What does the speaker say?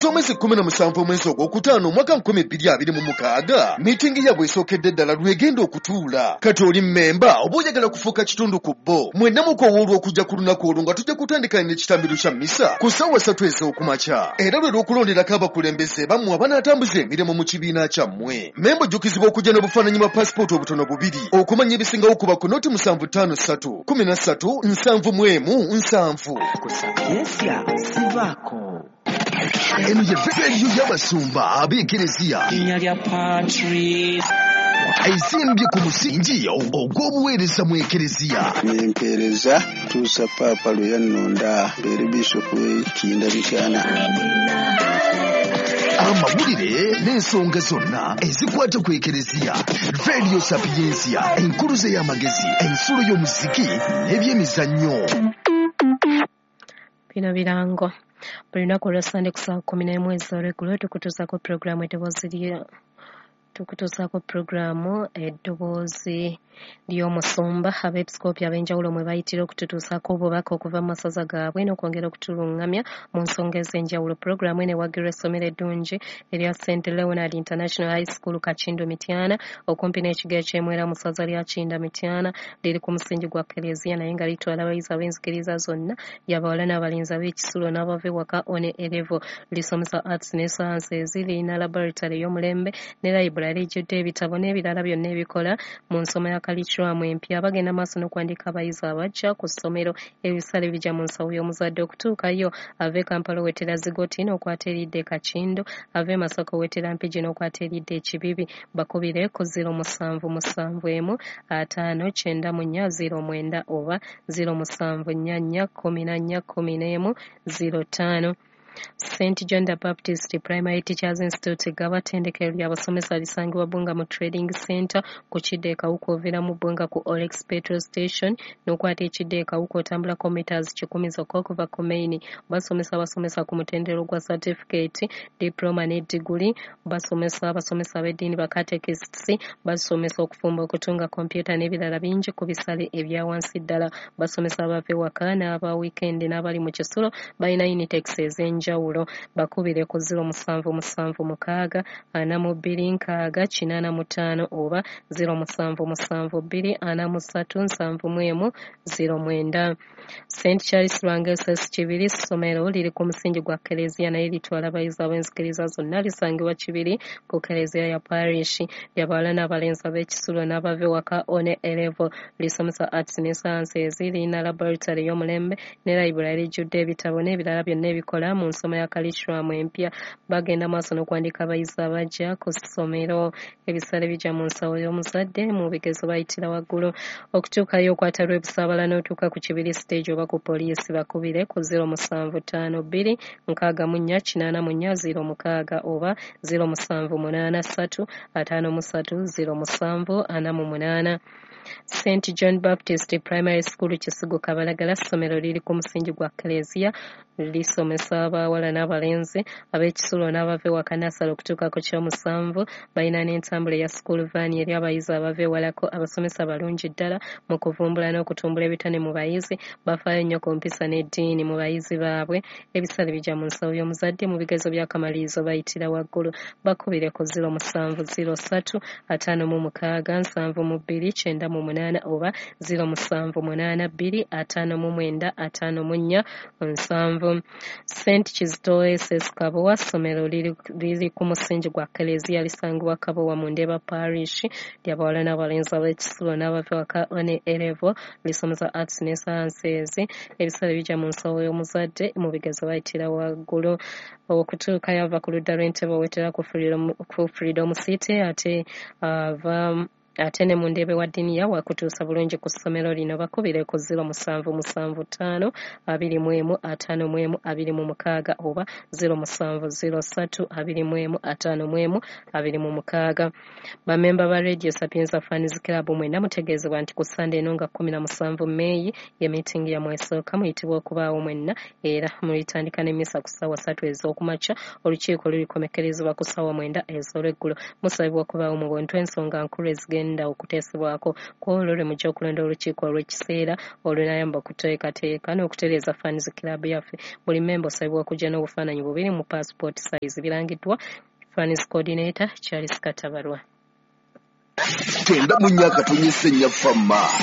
Omwezi 17 omwezi ogwokutaano omwaka 2026 miitingi yaabwe esookedde ddala lwegenda okutuula. Kati oli mmemba oba oyagala kufuuka kitundu ku bo, mwenna mukowoolwa okujja ku lunaku olwo nga tujja kutandika n'ekitambiro kya mmisa ku ssaawa 3 ez'okumakya. Era lwe lw'okulonderako abakulembeze bammwe abanaatambuza emirimu mu kibiina kyammwe. Mmemba ojjukizibwa okujja n'obufaananyi bwa paasipooti obutono bubiri. Okumanya ebisingawo kuba ku noti 753 13 71 7. Ku Sapiensia sivaako. Eno ye rediyo y'abasumba ab'ekereziya Linnya lya Patrice. Ezimbye ku musingi ogw'obuweereza mu ekereziya. Nempeereza tuusa Paapa lwe yannonda mbeere Bisopu w'e Kinda Mityana. Amawulire n'ensonga zonna ezikwata ku ekereziya. Radio Sapiensia, enkuluze y'amagezi, ensulo y'omuziki n'ebyemizannyo. Bino birango. Buli lunaku olwa Ssande ku ssaawa 11 ez'olweggulo tukutuusaako pulogulaamu eddoboozi lya tukutuusaako pulogulaamu eddoboozi ly'omusumba abeepisikoopi ab'enjawulo mwe bayitira okututuusaako obubaka okuva mu masaza gaabwe n'okwongera okutulungamya mu nsonga ez'enjawulo. Pulogulaamu eno ewagirwa essomero eddungi erya St Leonard International High School Kakindu Mityana okumpi n'ekigo eky'Emwera mu ssaza lya Kinda Mityana. Liri ku musingi gwa Keleziya naye nga litwala abayizi ab'enzikiriza zonna, ly'abawala n'abalenzi, ab'ekisulo n'abava ewaka one A level. Lisomesa arts ne sciences, lirina laboratory ey'omulembe ne library ejjudde ebitabo n'ebirala byonna ebikola mu nsoma ya curriculum empya. Bagenda maaso n'okuwandiika abayizi abajja ku ssomero. Ebisale bijja mu nsawo y'omuzadde. Okutuukayo ava e Kampala owetera Zigoti n'okwata eridda e Kakindu, ava e Masaka owetera Mpigi n'okwata eridda e Kibibi. Bakubire ku 0771 594 09 oba 0744 14 11 05. St John the Baptist Primary Teachers Institute Gaba ttendekero ly'abasomesa lisangibwa Bbunga mu Trading Center ku kidda e Kawuku oviiramu Bbunga ku Olex Petrol Station n'okwata ekidda e Kawuku otambulako meters 100 zokka okuva ku main. Basomesa abasomesa ku mutendera gwa certificate, diploma ne diguli. Basomesa abasomesa ab'eddiini, ba catechists, basomesa okufumba, okutunga, kompyuta n'ebirala bingi ku bisale ebya wansi ddala. Basomesa abava ewaka n'aba weekend n'abali mu kisulo. Balina Unitex ez'enjawulo. Bakubire ku 0776 42 60 85 oba 0772 43 71 09. St Charles Lwanga SS Kibiri ssomero liri ku musingi gwa Keleziya naye litwala abayizi ab'enzikiriza zonna. Lisangibwa Kibiri ku Keleziya ya Parish. Ly'abawala n'abalenzi, ab'ekisulo n'abava ewaka one A level. Lisomesa arts ne sciences, lirina laboratory ey'omulembe ne library ejjudde ebitabo n'ebirala byonna ebikola mu nsoma ya curriculum empya. Bagenda maaso n'okuwandiika abayizi abajja ku ssomero. Ebisale bijja mu nsawo y'omuzadde, mu bigezo bayitira waggulu. Okutuukayo okwata lw'ebusaabala n'otuuka ku Kibiri stage oba ku poliisi. Bakubire ku 0752 64 84 06 oba 0783 53 07 48. St John Baptist Primary School Kisugu Kabalagala ssomero liri ku musingi gwa Keleziya, lisomesa abawala n'abalenzi, ab'ekisulo n'abava ewaka nursery okutuuka ku kyomusanvu. Balina n'entambula eya school van eri abayizi abava ewalako. Abasomesa balungi ddala mu kuvumbula n'okutumbula ebitone mu bayizi. Bafaayo nnyo ku mpisa n'eddiini mu bayizi baabwe. Ebisale bijja mu nsawo y'omuzadde, mu bigezo by'akamalirizo bayitira waggulu. Bakubire ku 0703 56 72 98 oba 0782 59 54 7. St Kizito SS Kabowa ssomero liri ku musingi gwa Keleziya, lisangibwa Kabowa mu Ndeeba Parish. Ly'abawala n'abalenzi, ab'ekisulo n'abava ewaka one A level. Lisomesa arts ne sciences. Ebisale bijja mu nsawo y'omuzadde, mu bigezo bayitira waggulu. Okutuukayo ava ku ludda lw'Entebe owetera ku Freedom City, ate ava ate ne mu Ndeebe wa Ddiniya wakutuusa bulungi ku ssomero lino. Bakubire ku 0775 21 51 26 oba 0703 21 51 26. Bamemba ba Radio Sapienza Fans Club mwenna mutegeezebwa nti ku Ssande eno nga 17 Meeyi ye miitingi yammwe esooka. Muyitibwa okubaawo mwenna era mulitandika n'emmisa ku ssaawa 3 ez'okumakya. Olukiiko lulikomekkerezebwa ku ssaawa 9 ez'olweggulo. Musabibwa okubaawo mu buntu, ensonga nkulu ezigenda ebigenda okuteesebwako. Ku olwo lwe mujja okulonda olukiiko olw'ekiseera olunayamba okuteekateeka n'okutereeza Fans Club yaffe. Buli mmemba osabibwa okujja n'obufaananyi bubiri mu passport size. Birangiddwa Fans Coordinator Charles Katabarwa. 94.4 Fama.